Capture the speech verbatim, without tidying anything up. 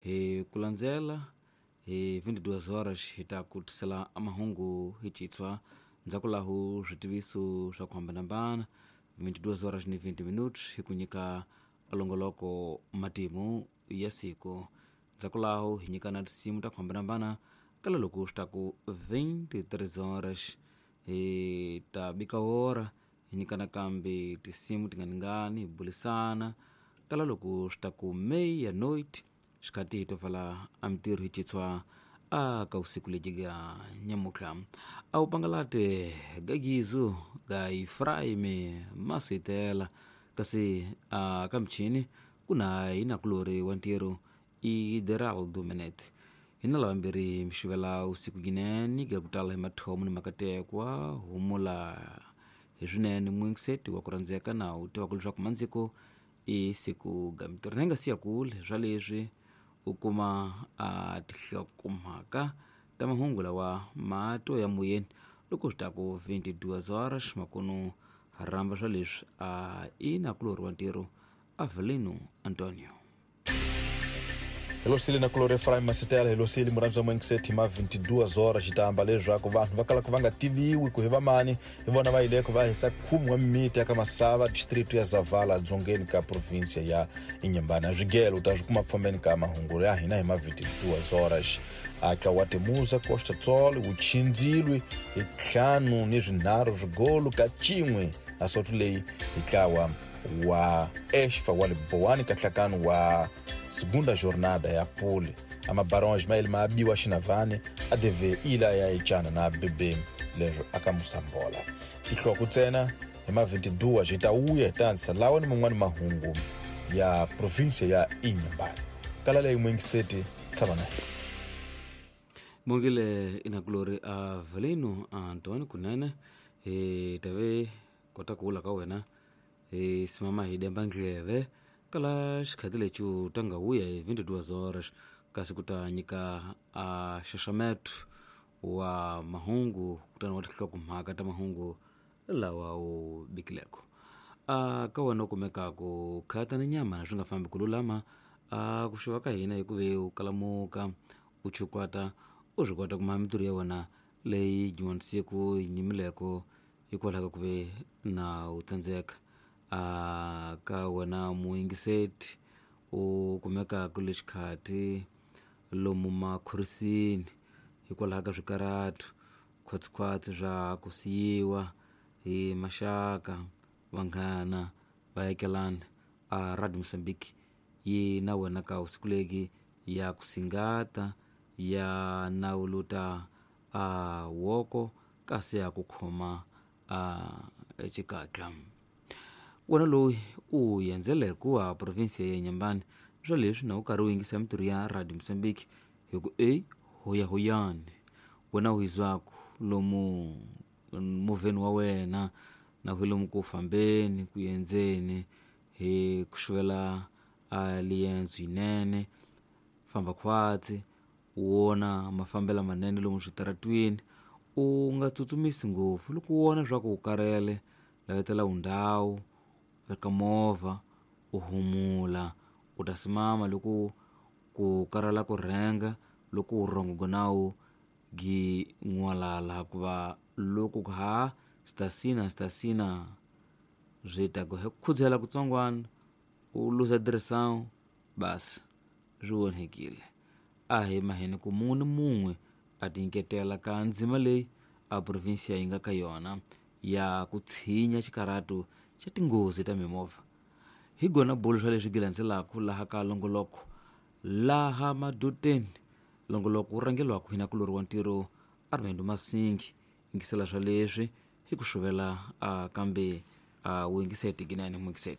Hi ku landzela hi vinte e duas horas hi ta ku tisela mahungu hi Xitswa, ndzhaku lahu switiviso swa ku hambanahambana. vinte e duas horas ni vinte minutos hi ku nyika longoloko matimu ya siku, ndzhaku laho hi nyika na tinsimu ta ku hambanahambana. Kala loko swi ta ku vinte e três horas hi ta bika hora hi nyika nakambe tinsimu tinganingani, hi bulisana. Kala loko swi ta ku meia noite xikati hi to pfala a mintirho hi Xitswa a ka usiku lebyi ga nyamutlha a wu pangalate gagizu ga Efraime Masitela, kasi a ka michini ku na hinakulori wa ntirho i Geraldo Menet. Hina lavambirhi mi xivela usiku ginene ga ku tala hi mathomo ni makatekwa humula hi swinene mwingiseti wa ku rhandzeka na u tivaka leswaku mandziko i siku ga mintirho na yi nga siya kule swa leswi u kuma a tinhlokomhaka ta mahungu lawa mato ya moyeni loko swi ta ku vinte e duas horas makunu rhamba swa leswi a i nakulori wa ntirho Avelino Antonio. Helosile na kulori Efraim Masitela, helosile murhandzi wa Mwengiseti. Ma vinte e duas horas xitamba leswaku vanhu va kalaka va nga tiviwi ku hi vamani hi vona va yileko va hisa khume wa mimiti ya ka Masava, district ya Zavala, dzongeni ka provinsia ya Inhambane. Swigelo u ta swi kuma ku fambeni ka mahungu ya hina hi ma vinte e duas horas. Aka wa Temuza Costa Tsol wu chindzilwe hi ntlhanu ni swinharhu swigolo ka cin'we asoto leyi hi ntlawa wa Esfa wa Libowani ka nhlakano wa segunda jornada ya pole. Amabarões ma ele ma abiwa xinavane a deve ila ya ecana na B B leswo aka Musambola tihloko ntsena. Hi ma vinte e duas hi ta wuya hi ta andzisa lawa ni man'wani mahungu ya provinsia ya Inhambane. Kala leyi mwingiseti tshama na hina. Bongile inakulori Avelino Antonio kunene hi tave kota ku vula ka wena hi simama hi demba ndleve kala xikhati lexi u ta nga wuya hi vinte e duas horas kasi ku ta nyika a xaxameto wa mahungu kutani wa tinhlokomhaka ta mahungu lawa u bikileko a ka wena u kumekaku khata ni nyama swi nga fambi ku lulama a ku xuva ka hina hikuve u kalamuka u chukwata u swi kota kuma mintirho ya wena leyi dyondzisiku yi nyimileko hikwalaho ka ku ve na u tsandzeka. A ka wena muyingiseti u kumekaka le xikhati lomu makhorisini hikwalaho ka swikarhato khwatsikhwatsi swa ku siyiwa hi maxaka, vanghana, vaakelani, a Radio Mozambique yi na wena ka usiku legi ya ku singata ya nawuluta a woko kasi ya ku khoma a xikatla. Wena loyi u endzeleke a provinsia ya Inhambane swa leswi na u karhi u yingisa mintirho ya Radio Mozambique hi ku e hoyahoyani wena u hizwaku lomu movheni wa wena na ku lomu ku fambeni ku endzeni hi ku xuvela a liendzo yinene famba khwatsi u wona mafambelo manene lomu switaratwini, u nga tsutsumisi ngopfu. Loko u vona swa ku u karhele, lavetela undhawu, veka movha u humula, u ta simama loko ku karhala ku rhenga loko vurhongo nawu gi n'walala hikuva loko ku ha swi ta sina swi ta ku hi khudzahela kutsongwana u luza direção basi swi onhekile. A hi maheni ku mun'we ni mun'we a tinyiketela ka ndzima leyi a provinsia yi nga ka yona ya ku tshinya xikarhato xa tinghozi ta mimovha. Hi gona bulu swa leswi gilandzelaka laha ka longoloko laha madoteni longoloko wu rhangeliwaka hi nakulori wa ntirho Armando Masingi. Yingisela swa leswi hi ku xuvela a kambe a wu yingiseti ginene muyingiseti.